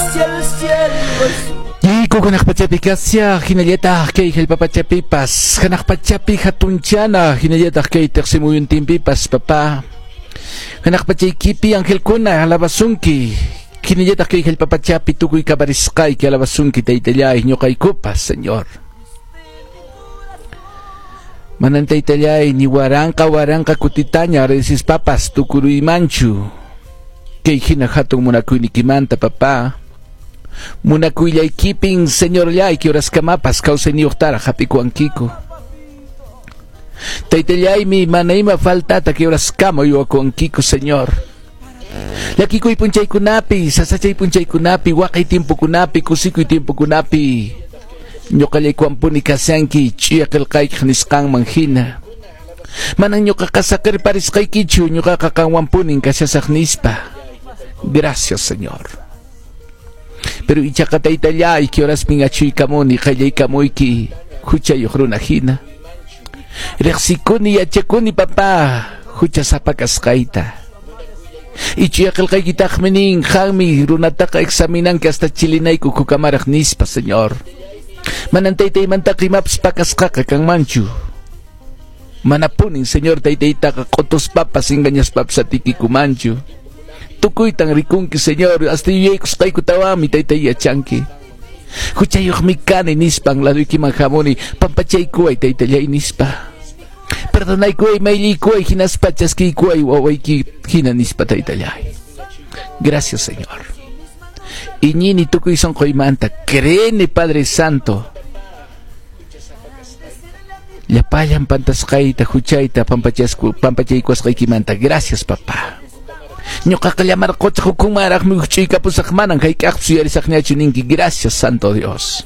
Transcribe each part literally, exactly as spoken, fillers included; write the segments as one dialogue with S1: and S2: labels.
S1: Hacia el cielo azul.
S2: Yayku hanaq pachapi kashaq hinallataq kay hallp'a pachapipas hanaq pachapi hatunchana hinallataq kay tiqsimuyuntinpipas papá hanaq pachaykipi angelkuna alabasunki hinallataq kay hallp'a pachapi tukuy kaparisqayki alabasunki taytallay ñuqaykupas Señor. Manan taytallay ni waranqa waranqa kutitaña agradecespapas tukuruymanchu kay hina hatun munakuynikimanta papá. Munakuyllaykipin Señorllayki horaskamapas kawsayniyuqtaraq hap'ikuwankiku. Taytallaymi mana ima faltata kay horaskama uywakuwankiku Señor. Llakikuy p'unchaykunapi, sasachay p'unchaykunapi, waqay tiempokunapi, kusikuy tiempokunapi ñuqallaykuwanpuni kashanki ch'uya qillqaykiq nisqanman hina. Manan ñuqaqa saqirparisqaykichu, ñuqaqa qanwanpunin kashasaq nispa. Gracias, Señor. Pero ichaqa taytallay kay horaspin achuykamuni qayllaykamuyki huchayuq runa hina. Riqsikuni yachakuni papá huchasapa kasqayta. Ichuya qillqaykitaqmi nin qanmi runataqa examinanki hasta chilinayku kukamaraq nispa Señor. Manan taytaymantaqa imapas pakasqaqa kanmanchu. Manapunin Señor taytaytaqa q'utuspapas engañaspapas atikikumanchu. Tukuytan rikunki Señor hasta yuyaykusqaykutawanmi taytay yachanki. Huchayuqmi kani nispan laduykiman hamuni pampachaykuway taytallay nispa. Perdonaykuway mayllaykuway hinaspa chaskiykuway wawayki hina nispa taytallay. Gracias, Señor. Iñini tukuy sunquymanta creene Padre Santo. Llapallan pantasqayta huchayta pampachasku pampachaykuwasqaykimanta. Gracias, papá. Ñuqaqa llamarquchaq hukunmaraqmi huch'uykapusaq manan hayk'aqpis uyarisaqñachu ninki. Gracias, Santo Dios.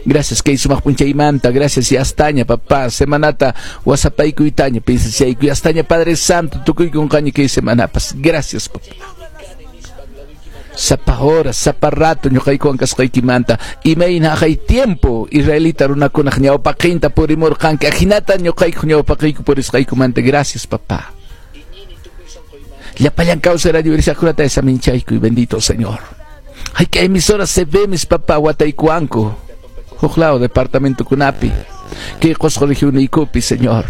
S2: Gracias kay sumaq p'unchaymanta, gracias y astaña papá, semanata wasapaykuytaña pinsachaykuy astaña Padre Santo tukuykunqaña kay semanapas. Gracias, papá. Sapa hora, sapa rato ñuqaykuwan kasqaykimanta imayna aqay tiempo israelita runakunaq ñawpaqinta purimurqanki ajinata ñuqayku ñawpaqiyku purisqaykumanta. Gracias, papá. Llapallan kawsay radio uyarisaqkunata saminchaykuy bendito Señor. Hayka emisoras C B mis papá wataykuwanku huk lado departamentokunapi kay Qusqu regioniykupi Señor.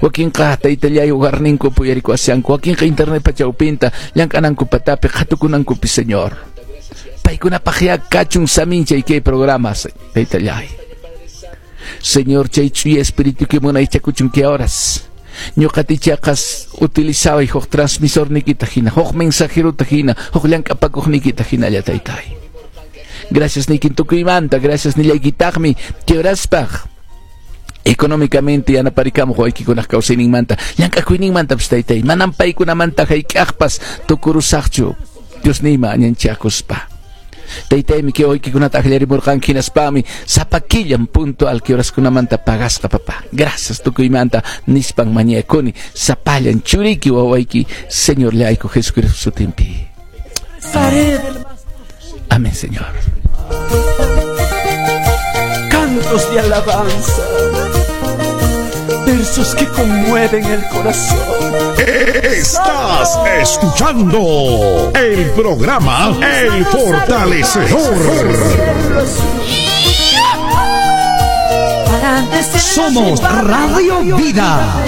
S2: Wakinqa taytallay hogarninku uyarikuwashanku wakinqa internet pachawpinta llank'ananku patapi qhatukunankupi Señor. Paykunapaq ya kachun saminchay kay programa taytallay. Señor chay ch'uya espíritu munaychakuchun kay horas ñuqatichaqas utilizaway huk transmisor nikita hina, huk mensajerota hina, huk llank'apakuq nikita hinalla taytay. Gracias nikin tukuymanta, gracias nillaykitaqmi kay horaspaq económicamente yanaparikamuq waykikunaq kawsayninmanta, llank'akuyninmantapas taytay, manan paykunamanta hayk'aqpas tukurusaqchu Diosniyma añanchakuspa. Taytaymi kay waykikunata akllarimurqanki hinaspami sapa killan puntual kay horaskunamanta pagasqa papá. Gracias tukuymanta nispan mañakuni sapallan churiki wawayki Señor llayku Jesucristo sutinpi. Amén, Señor.
S1: Cantos de alabanza, versos que conmueven el corazón.
S3: Estás escuchando el programa El Fortalecedor.
S4: Somos Radio Vida.